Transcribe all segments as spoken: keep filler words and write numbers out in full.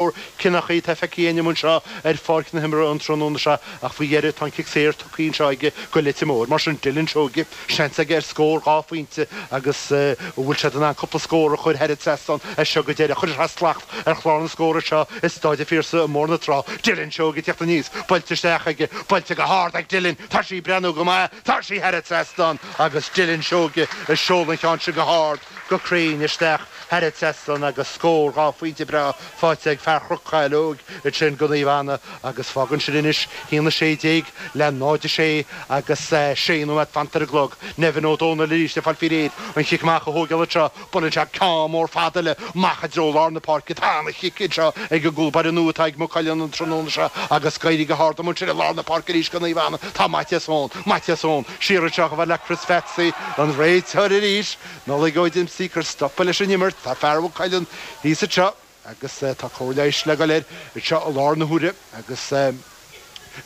Cinneachaí tá feicthe againn anseo ar pháirc na himeartha an tráthnóna seo ach faoi dheireadh tá an cic saor tugtha anseo aige go Leitir Móir. Mar sin Dylan Seoige seans aige ar scór dhá phointe agus an bhfuil siad in ann cúpla scór a chur thar an trasnán as seo go deireadh. Chuir sé slacht ar chlár na scór anseo i Staid an Phiarsaigh i mBóthar na Trá. Dylan Seoige ag teacht aníos, buailte isteach aige, buailte go hard ag Dylan, tá sí ag breathnú go maith, tá sí thar an trasnán agus Dylan Seoige ag seoladh an cheann sin go hard, go cruinn isteach thar an trasnán agus scór dhá phointe breá faighte ag fear Chnoc Chaileog ansin go Naomh Anna agus fágann sin anois haon a sé déag le náid a sé agus sé nóiméad fanta ar an gclog. Nevin Ó Dónaill arís ag fáil faoi réir an chic amach a thógáil anseo. Buaileann sé ceann mór fada eile amach i dtreo lár na páirce. Tá ana-chic anseo ag an gcúl báire nua atá ag Maigh Cuilinn an tráthnóna seo agus ag éirí go hard amuigh ansin i lár na páirce arís go Naomh Anna. Tá Maitias Eoin, Maitias Eoin, siar anseo chomh fada le Chris Phatsy, an réiteoir arís. Nollaig Ó Dimpsey ag cur stopadh leis an imirt. Tá fear Mhaigh Cuilinn thíos anseo agus tá cóir leighis le goil air anseo i láthair na huaire agus an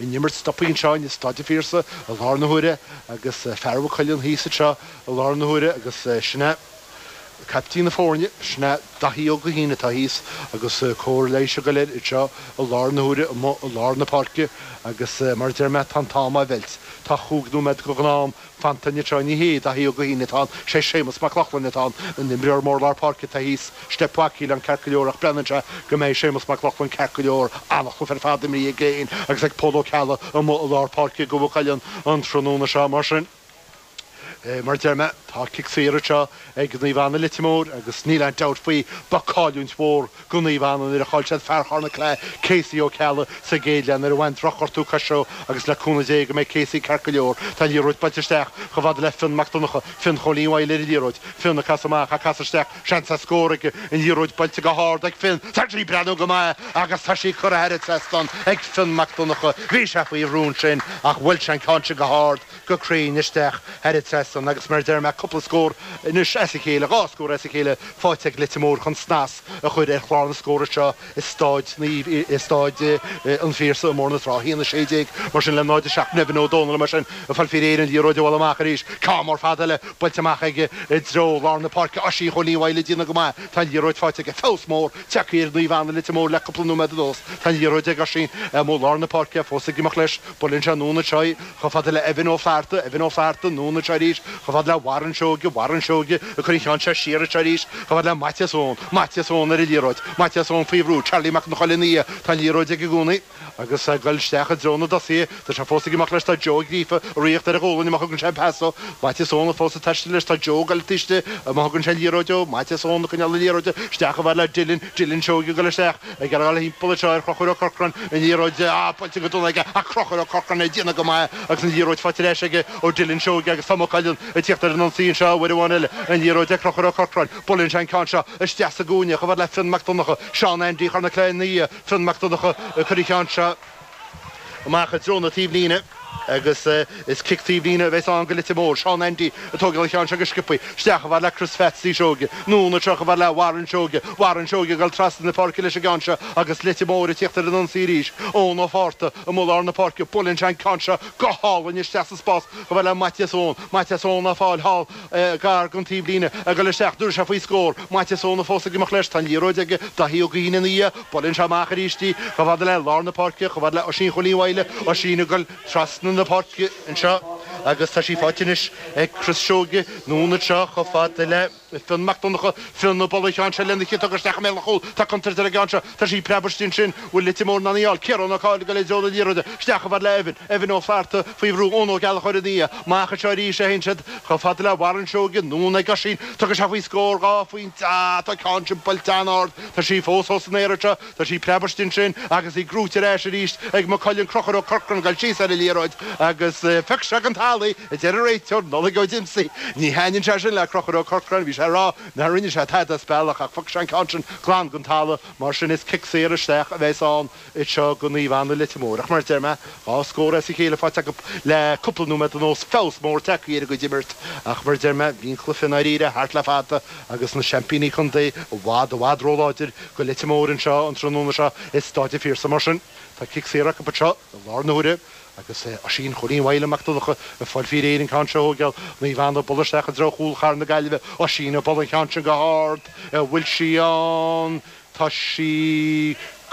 imirt stoptha anseo in Staid an Phiarsaigh i láthair na huaire agus fear Mhaigh Cuilinn thíos anseo i láthair na huaire agus sin é caiptín na foirne, sin é Daithí Ó Guithín atá thíos agus cóir leighis ag goil air anseo i láthair na huaire amuigh i lár na páirce agus mar a deir mé tá an t-am á mheilt. Tá chúig nóiméad go ghnáth-am fanta anseo. Ní hé Daithí Ó Guithín atá ann, sé Séamus Mac Lochlainn atá ann, an imreoir mór lár páirce atá thíos. Steip Mhac ceart go leor ach breathnaíonn sé go mbeidh Séamus Mac Lochlainn ceart go leor. An-chluiche ar fad imrithe aige féin agus ag Pól Ó Ceallaigh amuigh i lár páirce go Mhaigh Cuilinn an tráthnóna seo. Mar sin. Mar a deir mé, tá cic saor anseo ag Naomh Anna Leitir Móir agus níl aon dabht faoi, ba cailliúint mhór go Naomh Anna nuair a chaill siad fear Chorn na Claí, Casey Ó Ceallaigh, sa gcéad leath nuair a bhain drochghortú coise dó agus le cúnamh Dé go mbeidh Casey ceart go leor. Tá an liathróid buailte isteach chomh fada le Fionn Mac Donncha, Fionn Chóilín Mhaidhcil ar an liathróid, Fionn ag casadh amach, ag casadh isteach, seans ar scór aige, an liathróid buailte go hard ag Fionn, tá sí ag breathnú go maith agus tá sí curtha thar an trasnán ag Fionn Mac Donncha. Bhí sé faoi bhrú ansin ach bhuail sé an ceann sin go hard. go cruinn isteach thar an trasnán agus mar a deir mé cúpla scór anois as a chéile, dhá scór as a chéile faighte ag Leitir Móir chun snas a chur ar chlár na scór anseo i Stáid Naomh, i Stáid an Phiarsaigh i mBóthar na Trá. a haon a sé déag mar sin le náid a seacht. Nevin Ó Dónaill mar sin ag fáil faoi réir an liathróid a bhualadh amach arís. Ceann mór fada eile buailte amach aige i dtreo lár na páirce. Oisín Chóilín Mhaidhcil ag déanamh go maith. Tá an liathróid faighte aige. Feabhas mór tagtha ar Naomh Anna Leitir Móir le cúpla nóiméad anuas. Tá an liathróid ag Oisín amuigh lár na páirce fós ag imeacht leis. Buaileann sé anonn anseo í chomh fada le Evan Ó Flatharta, Evan Ó Flatharta, anonn anseo arís chomh fada le Warren Seoige, Warren Seoige ag cur an cheann seo siar anseo arís chomh fada le Maitias Eoin, Maitias Eoin ar an liathróid, Maitias Eoin faoi bhrú, Charlie Mac an Choill ina dhiaidh, tá an liathróid aige i gcónaí agus ag dul isteach i dtreo na dtosaithe, tá sé fós ag imeacht leis, tá Joe Ó Gríofa ag ritheacht ar a ghualainn má thugann sé an pas dó, Maitias Eoin fós ag taisteal leis, tá Joe ag dul taobh istigh má thugann sé an liathróid dó, Maitias Eoin ag coinneáil na liathróide isteach chomh fada le Dylan, Dylan Seoige ag dul isteach. Ag iarraidh a dhul thimpeall anseo ar Chonchúr Ó Corcráin, an liathróid buailte go dona aige ach Conchúr Ó Corcráin ag déanamh go maith agus an liathróid faighte ar ais aige ó Dylan Seoige agus tá Maigh Cuilinn ag tíocht ar an ionsaí anseo uair amháin eile. An liathróid ag Conchúr Ó Corcráin. Buaileann sé an ceann seo isteach sa gcúinne chomh fada le Fionn Mac Donncha, Seán Andy Chorn na Claí ina dhiaidh. Fionn Mac Donncha ag cur an cheann seo amach i dtreo na taobhlíne agus is cic taobhlíne a bheas ann go Leitir Móir. Seán Andy ag tógáil an cheann seo go sciobtha isteach chomh fada le Chris Phatsy Seoige. Anonn anseo chomh fada le Warren Seoige. Warren Seoige ag dul trasna na páirce leis an gceann seo agus Leitir Móir ag tíocht ar an ionsaí arís. Eoin Ó Fátharta amuigh lár na páirce. Buaileann sé an ceann seo go hálainn isteach sa spás chomh fada le Maitias Eoin. Maitias Eoin á fáil thall gar don taobhlíne ag dul isteach. An dtabharfaidh sé faoi scór. Maitias Eoin fós ag imeacht leis. Tá an liathróid aige. Daithí Ó Guithín ina dhiaidh. Buaileann sé amach arís í chomh fada le lár na páirce, chomh fada le Oisín Chóilín Mhaidhcil, Oisín ag dul trasna na páirce anseo agus tá sí faighte anois ag Chris Seoige, anonn anseo chomh fada le Fionn Mac Donncha, Fionn ag bualadh an cheann seo lena chiotóg isteach i mbéal an chúil, tá contúirt ar an gceann seo, tá sí ag preabadh istigh ansin, bhfuil Leitir Móir in ann í a fháil, Ciarán Ó Cadhain ag dul i dtreo na liathróide, isteach chomh fada le Evan, Evan Ó Flatharta faoi bhrú, Eoin Ó Gallchóir ina dhiaidh, amach anseo arís a théann siad chomh fada le Warren Seoige, anonn ag Oisín, tugann sé faoi scór dhá phointe, ah tá an ceann sin buailte an-ard. Tá sí fós os an aer anseo, tá sí ag preabadh istigh ansin agus í gnóite ar ais arís ag Maigh Cuilinn, Conchúr Ó Corcráin ag dul síos ar an liathróid agus phioc sé den talamh í, a deir an réiteoir, Nollaig Ó Dimpsey. Ní thaitníonn sé sin le Conchúr Ó Corcráin, bhí sé ag rá nár rinne sé tada as bealach ach phioc sé an ceann sin glan den talamh, mar sin is cic saor isteach a bheas ann. anseo go Naomh Anna Leitir Móir. Ach mar a deir mé, dhá scór as a chéile faighte acu le cúpla nóiméad anuas, feabhas mór tagtha ar a gcuid imirt. Ach mar a deir mé, bhí an cluiche i ndáiríre thart le fada agus na seaimpíní contae i bhfad, i bhfad róláidir go Leitir Móir anseo an tráthnóna seo i Stáid an Phiarsaigh. Mar sin, tá cic saor acu anseo i láthair na huaire agus Oisín Chóilín Mhaidhcil Mac Donncha ag fáil faoi réir an ceann seo a thógáil. Naomh Anna ag bualadh isteach i dtreo chúl chathair na Gaillimhe. Oisín ag bualadh an cheann sin go hard. An bhfuil sí ann? Tá sí